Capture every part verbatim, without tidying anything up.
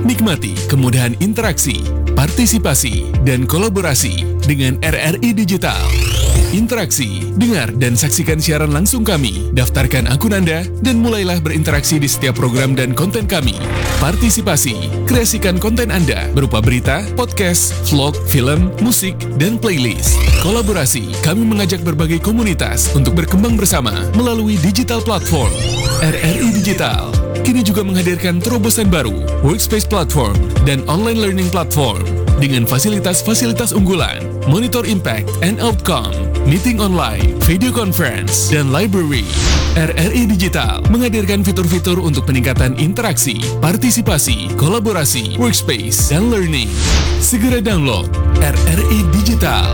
Nikmati kemudahan interaksi, partisipasi, dan kolaborasi dengan R R I Digital. Interaksi, dengar, dan saksikan siaran langsung kami. Daftarkan akun Anda dan mulailah berinteraksi di setiap program dan konten kami. Partisipasi, kreasikan konten Anda berupa berita, podcast, vlog, film, musik, dan playlist. Kolaborasi, kami mengajak berbagai komunitas untuk berkembang bersama melalui digital platform. R R I Digital kini juga menghadirkan terobosan baru, Workspace Platform dan Online Learning Platform, dengan fasilitas-fasilitas unggulan, Monitor Impact and Outcome, Meeting Online, Video Conference, dan Library. R R I Digital menghadirkan fitur-fitur untuk peningkatan interaksi, partisipasi, kolaborasi, workspace, dan learning. Segera download R R I Digital.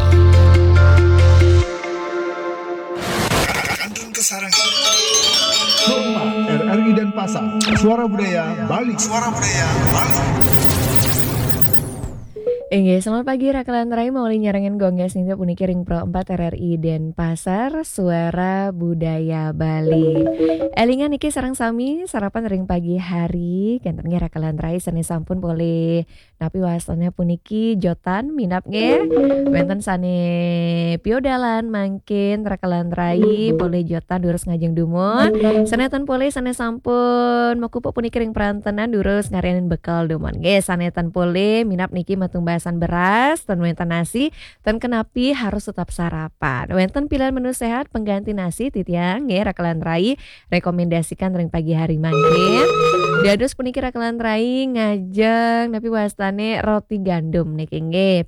Rumah R R I Denpasar, Suara Budaya Bali. Suara Budaya Bali. Inggih, selamat pagi Rakelan Rai, mauli nyarengin gongges nitip puniki ring Pro empat R R I Denpasar, Suara Budaya Bali. Elingan niki sareng sami sarapan ring pagi hari, kenten nggih Rakelan Rai sane sampun polih napi wastane puniki jotan minab nggih. Wenten sane piodalan mangkin Rakelan Rai polih jotan durus ngajeng dumun. Sane ten polih sane sampun makupuk puniki ring prantenan durus ngarianin bekel dumun nggih. Sane ten polih minab niki matumbasan beras, ten wenten nasi, ten kenapi harus tetap sarapan. Wenten pilihan menu sehat pengganti nasi titiang nggih Rakelan Rai rekomendasikan ring pagi hari mangkin. Dados puniki Rakelan Rai ngajeng napi wastane roti gandum niki nggih.